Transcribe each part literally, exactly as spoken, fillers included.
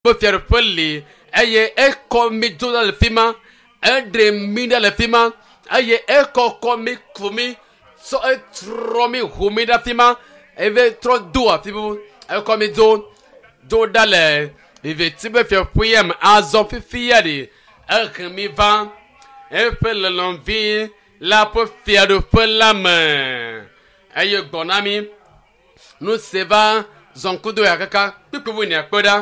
Ƒe fiaɖuƒe li eye ekɔ mi dzo ɖa le fi ma, eɖe mi ɖa le fi ma eye ekɔkɔ mi ku mi tsɔ etrɔ mi ʋu mi ɖe fi ma eve trɔ do afi bubu ekɔ mi dzo dzo ɖa le viviti ƒe fiaɖuƒe me azɔ fifia ɖi ehe mi va eƒe lɔlɔ̃vi la ƒe fiaɖuƒe la me eye gbɔ na mi nu si va zɔnkudo ya kaka kpukpu wuiene kpɔ ɖa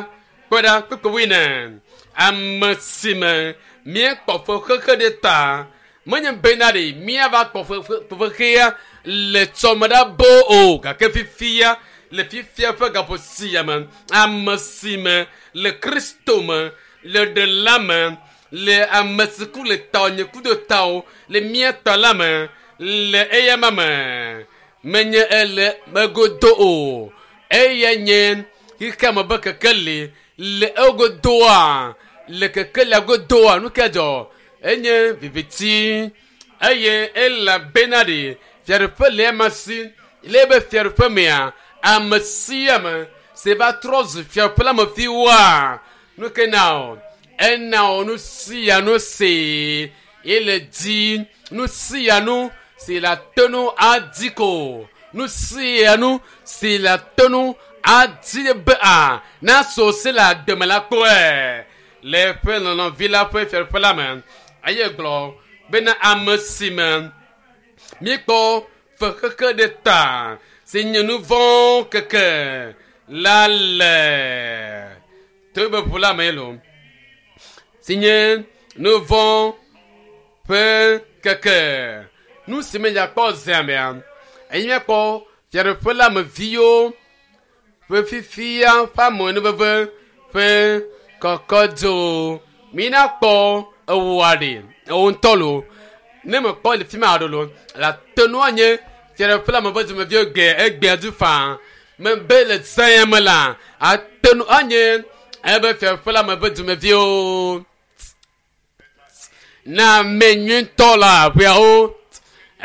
kpɔ ɖa kpukpu wuiene ame si me míekpɔ fexexe ɖe ta menye bena ɖe míava kpɔ fexexea le tsɔme ɖa bo o gake fifia le fifia ƒe gaƒo sia me ame si me le kristo me le ɖela me le ame si ku le ta nye ku do ta o le mía ta la me le eyama me menye ele megodo o eya nye xexea me be kekeli le egodoa le kekelia godoa nu ke dzɔ enye viviti eye elabena ɖe fiaɖuƒe le ema si le ebe fiaɖuƒe mea ame sia ame si va trɔ zu fiaɖuƒe la me fiwoa nu ke na o ena o nu sia nu si ele di nu sia nu si le ate nu adi ko nu sia nu si le ate nu adi be a na so si le agbeme la kpɔe le eƒe lɔlɔ̃vi la ƒe fiaɖuƒe la me eye gblɔ bena ame si me míekpɔ fexexe ɖe ta si nye nu vɔ̃ keke la le to be ʋu la me lo si nye nu vɔ̃ ƒe keke nu si me yakpɔ zea mea eye míakpɔ fiaɖuƒe la me viwo ƒe fifia ƒe amenuveve ƒe kɔkɔdzo mina kpɔ ewoa ɖe ewo ŋutɔ lo ne mekpɔ le fi ma ɖo lo la te nua nye fiaɖuƒe la me ƒe dumeviwo gbe egbea du faa mebe le zãya me la ate nu anye ebe fiaɖuƒe la me ƒe dumeviwo na ame nyuitɔ la aƒeawo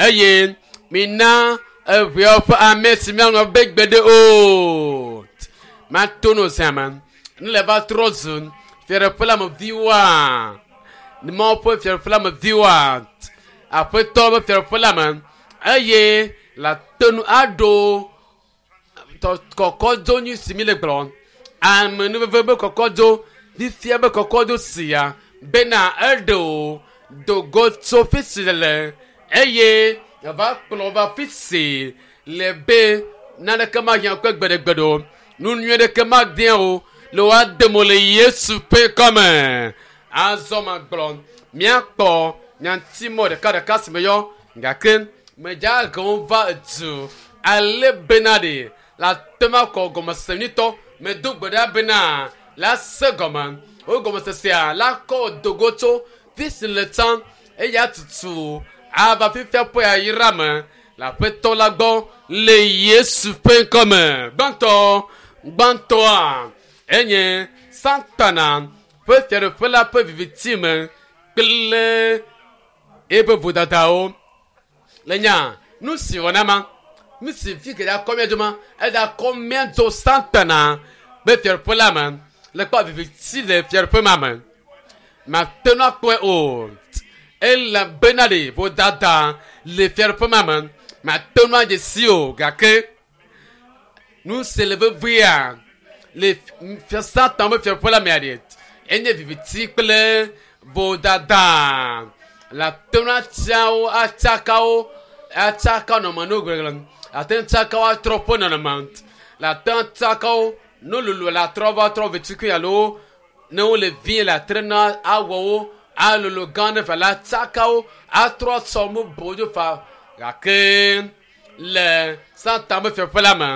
eye mina eʋeawo ƒe ame si miaŋlɔ be gbeɖe o mato no zã me nu le va trɔ zu fiaɖuƒe la me viwoa mawu ƒe fiaɖuƒe la me viwoa aƒetɔ ƒe fiaɖuƒe la me eye la te nu aɖo kɔkɔdzo nyui si mi le gblɔ amenuveve be kɔkɔdzo fifia be kɔkɔdzo sia bena eɖe o dogo tso fi si le eye eva kplɔ va fi si le be naneke mahiã kpe gbeɖegbeɖe o nu nyui ɖeke madea o le woade mo le yesu ƒe kɔme azɔ ma gblɔ míakpɔ nyatimɔ ɖeka ɖeka si me yɔ gake medza gewo va edu ale bena ɖe la te ma kɔ gɔmesese nyuitɔ medo gbe ɖa bena la se gɔme wo gɔmesesea la kɔ dogo tso fi si le tsã eya tutu ava fifia ƒe ayira me le aƒetɔ la gbɔ le yesu ƒe ŋkɔme gbãtɔ gbãtɔa enye satana ƒe fiaɖuƒe la ƒe viviti me kple eƒe vodadawo le nya nu si wɔna ma nu si fi ke akɔ mía dzo ma eda kɔ mía dzo satana be fiaɖuƒe la me le kpɔ viviti le fiaɖuƒe ma me mate nu akpɔe o elabena ɖe vodada le fiaɖuƒe ma me mate nu adze si o gake nu si le vevia le fia satan be fiaɖuƒe la mea ɖe enye viviti kple vodada la te nu atsiawo atsakawo atsaka nɔnɔme no gbegblẽ ate ŋu tsakawo atrɔ ƒe nɔnɔme la te ŋu tsakawo no lolo la trɔ va trɔ vetukui alo ne wole vie le atre na awɔwo alolo gã ɖe fa la tsakawo atrɔ sɔ mu bo dzo fa gake le satan be fiaƒe la me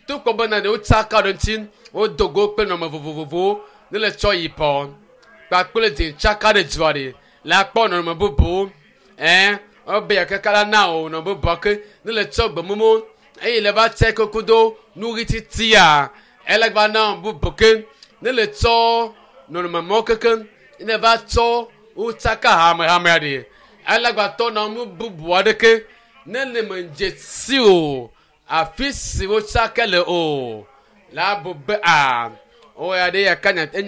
to kpɔ bena ne wotsaka ɖe ŋuti wodo go kple nɔnɔme vovovowo ne le tsɔ yibɔ kpakple dze tsaka ɖe dzoa ɖe la kpɔ nɔnɔme bubu ɛn wobe yakaka la na o nɔnɔme bubu ke ne le tsɔ gbemumu eye le va tse koko do nu ɣi titia ele gba na bubu ke ne le tsɔ nɔnɔme mɔ keke ne va tsɔ wotsaka hamehame ɖe ele gba tɔ nɔnɔme bubu aɖeke ne le me dze si o afi si wotsaka le o la bu be a o ya ɖe yaka nya enya